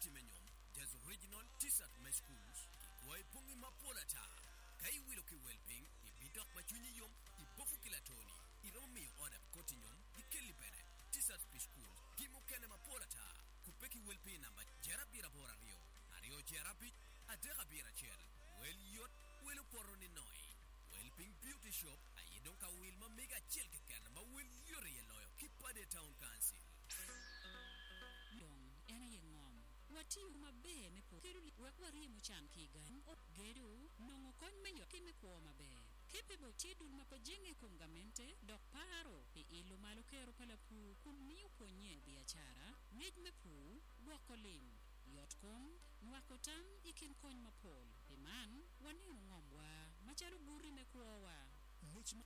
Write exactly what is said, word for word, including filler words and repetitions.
Koti me nyom, jaz original, T-shirt me schools, ki kwai bongi mapol ata. Ka iwilo ki wel piny, ibidok ma cwinyi yom, iboko ki latoni. Iromo miyo order koti nyom, gikelli bene. T-shirt pi school, ki mukene mapol ata. Kupe ki wel piny namba jer abiro aboro aryo, aryo jer abic, adek abiro acel. Wel yot, wel opoto ni noi. Wel piny beauty shop, aye dong ka wil ma mega acel keken ma wel yot iye loyo ki Pader Town Council. Dong en aye ngom. Watiyo maber me pur kedo wek waryemo can ki i gang, gedo, nongo kony me yot ki me kwo maber. Capable tye dul ma pe jenge i kom gamente dok paro pi ilo malo kero pa lapur kun miyo pwonye biacara, ngec me pur, gwoko lim, yot kom, nywako tam i kin kony mapol. Pi man, waneno ngomwa macalo guti me kwowa. Ngec ma